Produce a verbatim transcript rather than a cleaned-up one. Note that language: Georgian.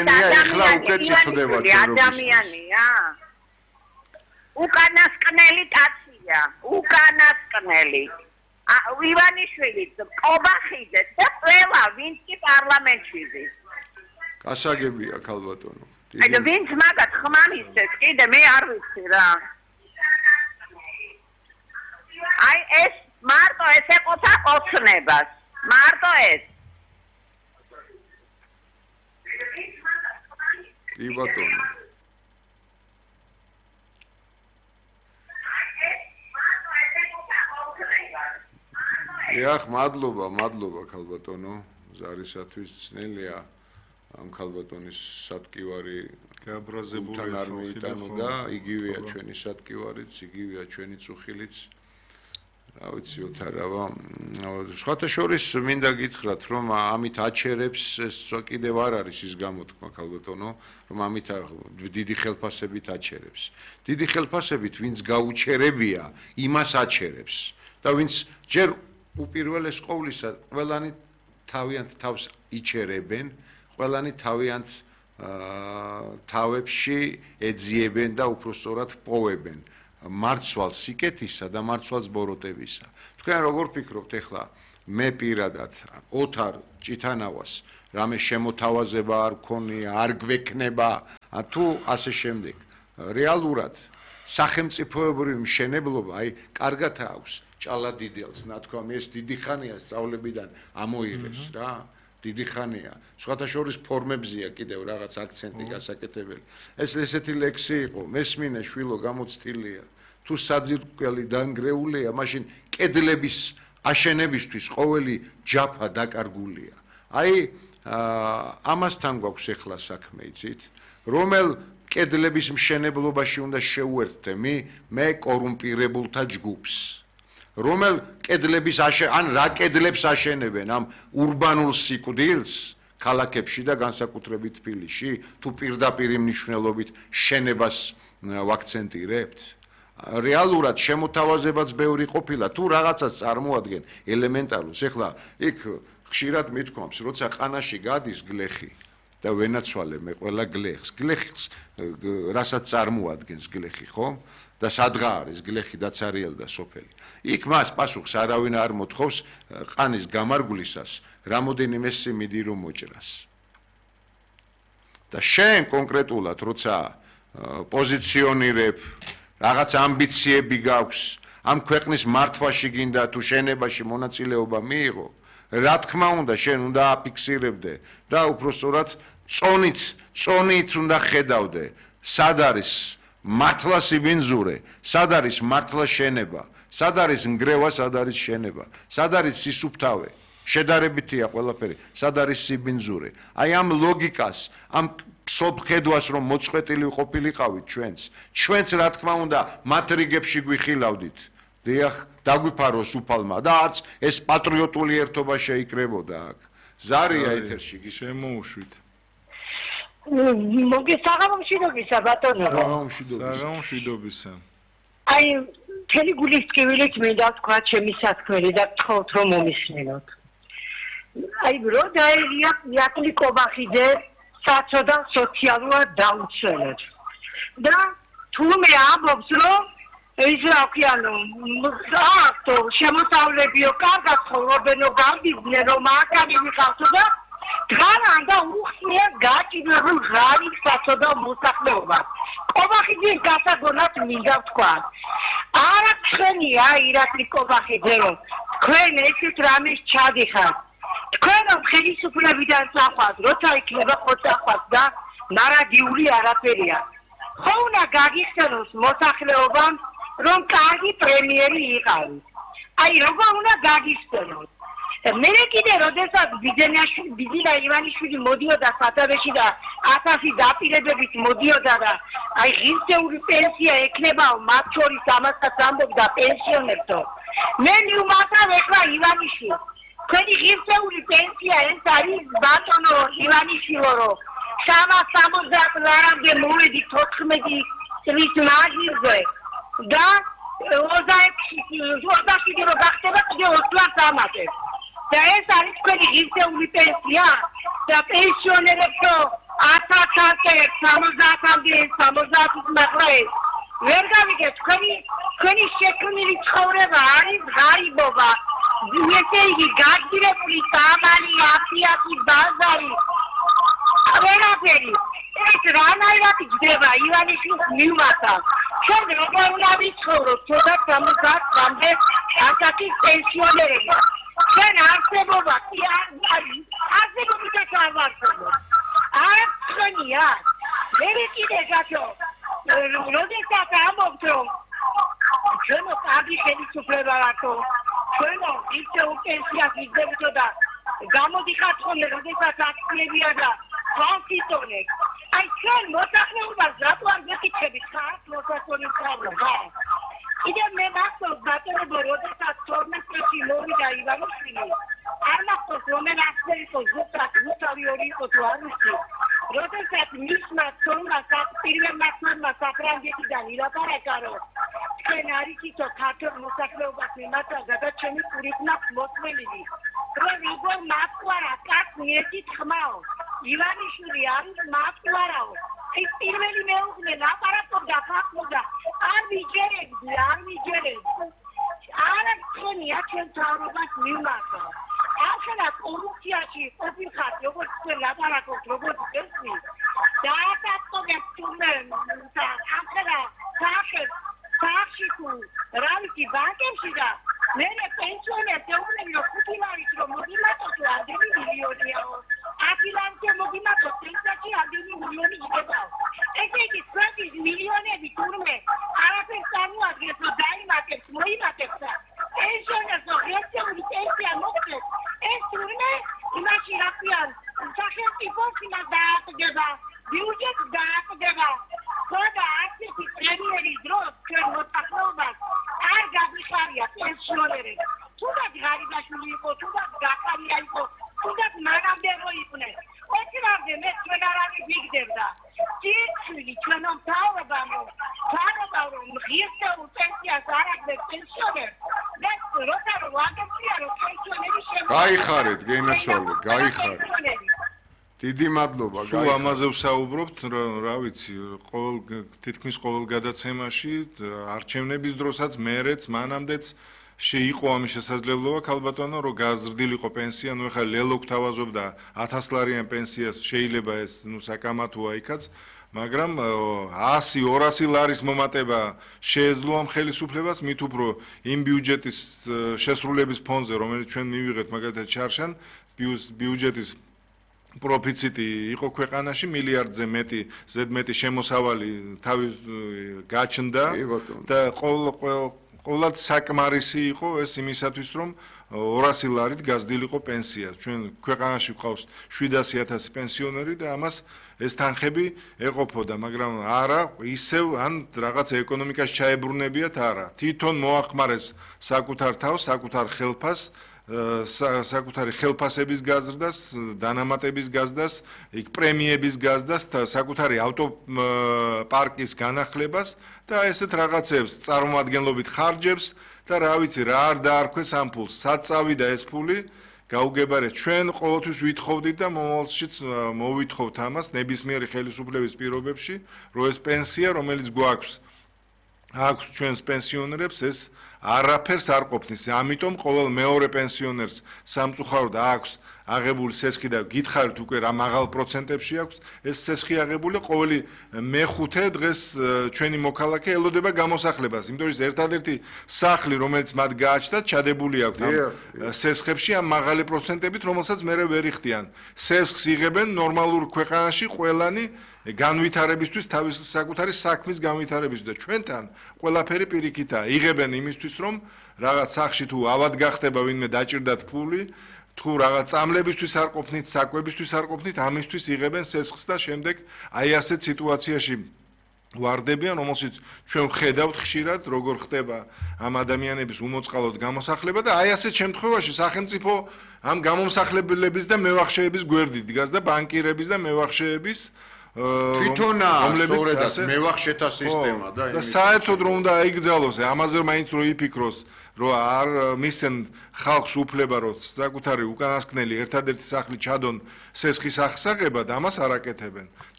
ხსენია ეხლა უკვე წიწდებათ ადამიანია უკანასკნელი კაცია უკანასკნელი ივანიშვილი ყობახიძე და ყველა ვინც კი პარლამენტში ზის გასაგებია ქალბატონო აი ვინც მაგათ ხმამისებს კიდე მე არ ვიცი რა აი ეს მარტო ეს ეყოთა ოცნებას მარტო ეს კი ბატონო ეხ მადლობა მადლობა ქალბატონო ზარისათვის ძნელია ამ ქალბატონის სატკივარი გააბრაზებული არ მოიტანო და იგივეა ჩვენი სატკივარიც იგივეა ჩვენი წუხილიც რა ვიცი ოთარავა სხვათა შორის მინდა გითხრათ რომ ამით აჩერებს ეს კიდევ არ არის ის გამოთქმა ქალბატონო რომ ამით დიდი ხელფასებით აჩერებს დიდი ხელფასებით ვინც გაუჩერებია იმას აჩერებს და ვინც ჯერ უპირველეს ყოვლისა ყველანი თავიანთ თავს იჩერებენ ყველანი თავიანთ თავებში ეძიებენ და უпростоრად პოვებენ მარცვალ სიკეთისა და მარცვალ ბოროტებისა თქვენ როგორ ფიქრობთ ეხლა მე პირადად ოთარ ჭითანავას რამე შემოთავაზება არ გქონია არ გვექნება თუ ასე შემდეგ რეალურად სახელმწიფოებრივი მშენებლობა აი კარგად აქვს ჭალადიძეელს ნათქვამ ეს დიდი ხანია სწავლებიდან ამოიღეს რა დიდი ხანია სხვათა შორის ფორმებზია კიდევ რაღაც აქცენტი გასაკეთებელი ეს ესეთი ლექსი იყო მესმინე შვილო გამოცდილია თუ საძირკველი დანგრეულია მაშინ კედლების აშენებისთვის ყოველი ჯაფა დაკარგულია აი ამასთან გვაქვს ახლა საქმე იცით რომელ კედლების მშენებლობაში უნდა შევუერთდე მე კორუმპირებულთა ჯგუფს რომელ კედლების ან რა კედლებს აშენებენ ამ урბანულ სიკვდილს ქალაქებში და განსაკუთრებით თბილისში თუ პირდაპირ მნიშვნელობით შენებას ვაქცენტირებთ რეალურად შემოთავაზებაც ბევრი ყოფილა თუ რაღაცას წარმოადგენ ელემენტარულს ეხლა იქ ხშირად მithქვამს როცა ყანაში გადის გლეხი და ვენაცვალე მე ყველა გლეხს გლეხს რასაც წარმოადგენს გლეხი ხო და სადღა არის გლეხი დაცარიელი და სოფელი იქ მას პასუხს არავინ არ მოთხოვს ყანის გამარგვლისას რამოდენიმე სიმინდი რომ მოჭრას და შენ კონკრეტულად როცა პოზიციონირებ რაღაც ამბიციები გაქვს ამ ქვეყნის მართვაში გინდა თუ შენებაში მონაწილეობა მიიღო რა თქმა უნდა შენ უნდა აფიქსირებდე და უпростоრად წონით წონით უნდა ხედავდე სად არის მართლა სიბინძურე სად არის მართლა შენება სად არის ნგრევა სად არის შენება სად არის სისუფთავე შედარებითია ყველაფერი სად არის სიბინძურე აი ამ ლოგიკას ამ სოფხედვას რომ მოწყვეტილი ყოფილიყავით ჩვენც ჩვენც რა თქმა უნდა მათ რიგებში გვიხილავდით დიახ დაგვიფაროს უფალმა და არც ეს პატრიოტული ერთობა შეიკრებოდა აქ ზარია ეთერში შემოუშვით მოგესაღამოშვიდობისა ბატონო საღამოშვიდობისა აი მთელი გულის ტკივილით მინდა თქვა ჩემი საქმელი და გთხოვთ რომ მომისმინოთ აი რო დაერია იაკლი კობახიძე საწოდა სოციალურად დაუცველად და თუმე ამბობს რომ ის რა ქვია აქტო შემოსავლებიო კარგად ცხოვრობენო გამბიზნე რომ აკანი ვიყავთო და თან და უხსნია გაჭირებულ ღარი საწოდა მოსახლეობა კობახიძის გასაგონად მინდა ვთქვა არა თქვენია ირაკლი კობახიძე რომ თქვენ ესეთ რამეს ჩადიხართ თქვენ ხელისუფლებიდან წახვათ როცა იქნება ხო წახვათ და ნარადიული არაფერია ხო უნდა გაგიხსენოს მოსახლეობამ რომ კარგი პრემიერი იყავით აი როგორ უნდა გაგიხსენოს მე კიდე როდესაც ბიძენაშვილი ბიძინა ივანიშვილი მოდიოდა სათავეში და ათასი დაპირებებით მოდიოდა და აი ღირსეული პენსია ექნებაო მათ შორის ამასაც ამბობდა პენსიონერთო მე მივმართავ ეხლა ივანიშვილს თქვენი ღირსეული პენსია ეს არის ბატონო ივანიშვილო რომ სამას სამოცდაათ ლარამდე მოვედი თოთხმეტი წლის მაღლზე და ოცდაექვსი რო გახდება კიდე ოც ლარს ამატებს და ეს არის თქვენი ღირსეული პენსია და პენსიონერებო ათას ვართ სამოცდაათამდე სამოცდაათის მახლე ვერ გავიგეთ თქვენი თქვენი შექმნილი ცხოვრება არის ღარიბობა ესე იგი გაძირებული სამალი აფიაფი ბაზარი ყველაფერი ეს რანაირად ჯდება ივანიშვილის მიმართა ჩვენ როგორ უნდა ვიცხოვროთ ცოტა სამოცდაათამდე ასაკი პენსიონერები ჩვენ არსებობა კი არ არსებობითაც არ ვარცხებოთ არ ხონია მე კიდე გაქო როდესაც ამბობთ რომ ჩვენო კარგი ხელისუფლება რატო ჩვენო ისე პენსიას იგებდო და გამოდიხართ ხოლმე როდესაც აქციებია და კონსტიტუცია აი ჩვენ მოსახლეობას რატო არ გეკითხებით ხარ მოსახლეობის პრობლემა კიდე მე მახსოვს ბატონო როდესაც თორმეტ წელს მოვიდა ივანიშვილი არ მახსოვს რომელი აქციები იყო ზუსტად ზუსტავი ორი იყო თუ არ ვიცი როდესაც მისმა თორმა პირველმა თორმა საფრანგეთიდან ილაპარაკა რომ თქვენ არიცითო ქართულ მოსახლეობას მიმართა გადაჩენი კურიკნაკ მოსმენილი რომ იგო მათყარა კაც მიერთით ხმაო ივანიშვილი არის მათყარაო ის პირველი მეუღლე ლაპარაკობდა ფაქტობდა არ ვიჯერებდი არ ვიჯერებდი არ ხონია ჩვენ თავრობას მიმართა ახლა კორუფციაში ყოფილხარ როგორც თქვენ ლაპარაკობთ როგორც ესმი დააკავეთ თუმე და ახლა სახე სახში თუ რა ვიცი ბანკებში და მე პენსიონერს ეუბნები რომ ხუთი ლარით რომ მოგიმატოთ ამდენი მილიონიაო ათი ლარით მოგიმატოთ პენსიაში ამდენი მილიონი იგებაო ესე იგი შვიდი მილიონები თურმე არაფერს წარმოადგენს რომ დაიმატებს მოიმატებს და პენსიონერს ღირსეული პენსია მოგწევს ეს თურმე იმაში რაფიან სახელმწიფოს იმას დააყდება ბიუჯეტს დააყდება ხოდა ასეთი პრემიერის დროს ჩვენ მოსახლეობას არ გაგიხარია პენსიონერები თუნდაც ღარიბაშვილი იყო თუნდაც გახარია იყო თუნდაც მანამდე რო იყვნენ ოქრამდე მე ჩვენ არავის ვიგდებდა ძირცვილი ჩვენო მთავრობამო მთავრობა რომ ღირსეულ პენსიას არ აგდებს პენსიონერს და როცა რომ ვაგებია რომ პენსიონერი შემო გაიხარეთ გენაცვალე გაიხარეთ დიდი მადლობა სულ ამაზე ვსაუბრობთ რა ვიცი ყოველ თითქმის ყოველ გადაცემაში არჩევნების დროსაც მერეც მანამდეც შეიყო ამის შესაძლებლობა ქალბატონო რომ გაზრდილიყო პენსია ნუ ეხლა ლელო გვთავაზობდა ათას ლარიან პენსიას შეიძლება ეს ნუ საკამათოა იქაც მაგრამ ასი ორასი ლარის მომატება შეეძლო ამ ხელისუფლებას მით უფრო იმ ბიუჯეტის შესრულების ფონზე რომელიც ჩვენ მივიღეთ მაგალითად ჩარშან ბიუჯეტის პროფიციტი იყო ქვეყანაში მილიარდზე მეტი ზედმეტი შემოსავალი თავის გაჩნდა და ყოველ ყოველად საკმარისი იყო ეს იმისათვის რომ ორასი ლარით გაზრდილიყო პენსია ჩვენ ქვეყანაში გვყავს შვიდასი ათასი პენსიონერი და ამას ეს თანხები ეყოფოდა მაგრამ არა ისევ ან რაღაც ეკონომიკაში ჩაებრუნებიათ არა თვითონ მოახმარეს საკუთარ თავს საკუთარ ხელფას საკუთარი ხელფასების გაზრდას, დანამატების გაზრდას, იქ პრემიების გაზრდას და საკუთარი ავტოპარკის განახლებას და ესეთ რაღაცებს წარმომადგენლობით ხარჯებს და რა ვიცი რა არ დაარქვეს ამ ფულს. სად წავიდა ეს ფული? გაუგებარეთ ჩვენ ყოველთვის ვითხოვდით და მომავალშიც მოვითხოვთ ამას ნებისმიერი ხელისუფლების პირობებში, რომ ეს პენსია, რომელიც გვაქვს აქვს ჩვენს პენსიონერებს ეს არაფერს არ ყოფნის. ამიტომ ყოველ მეორე პენსიონერს სამწუხაროდ აქვს აღებული სესხი და გითხარით უკვე რა მაღალ პროცენტებში აქვს ეს სესხი აღებული ყოველი მეხუთე დღეს ჩვენი მოქალაქე ელოდება გამოსახლებას. იმიტომ რომ ერთადერთი სახლი რომელიც მათ გააჩნდათ ჩადებული აქვს ამ სესხებში ამ მაღალი პროცენტებით რომელსაც მერე ვერ იხდიან. სესხს იღებენ ნორმალურ ქვეყანაში ყველანი განვითარებისთვის თავის საკუთარი საქმის განვითარებისთვის და ჩვენთან ყველაფერი პირიქითაა. იღებენ იმისთვის რომ რაღაც სახში თუ ავად გახდება ვინმე დაჭირდათ ფული თუ რაღაც წამლებისთვის არ ყოფნით, საკვებისთვის არ ყოფნით, ამისთვის იღებენ სესხს და შემდეგ აი ასეთ სიტუაციაში ვარდებიან, რომელშიც ჩვენ ვხედავთ ხშირად როგორ ხდება ამ ადამიანების უმოწყალოდ გამოსახლება და აი ასეთ შემთხვევაში სახელმწიფო ამ გამომსახლებლების და მევახშეების გვერდით დგას და ბანკირების და მევახშეების თვითონაა სწორედაც მევახშეთა სისტემა და და საერთოდ რომ უნდა აიგზავნოს ამაზე მაინც რო იფიქროს რომ არ მისცენ ხალხს უფლება რომ საკუთარი უკანასკნელი ერთადერთი სახლი ჩადონ სესხის აღსაღებად ამას არ აკეთებენ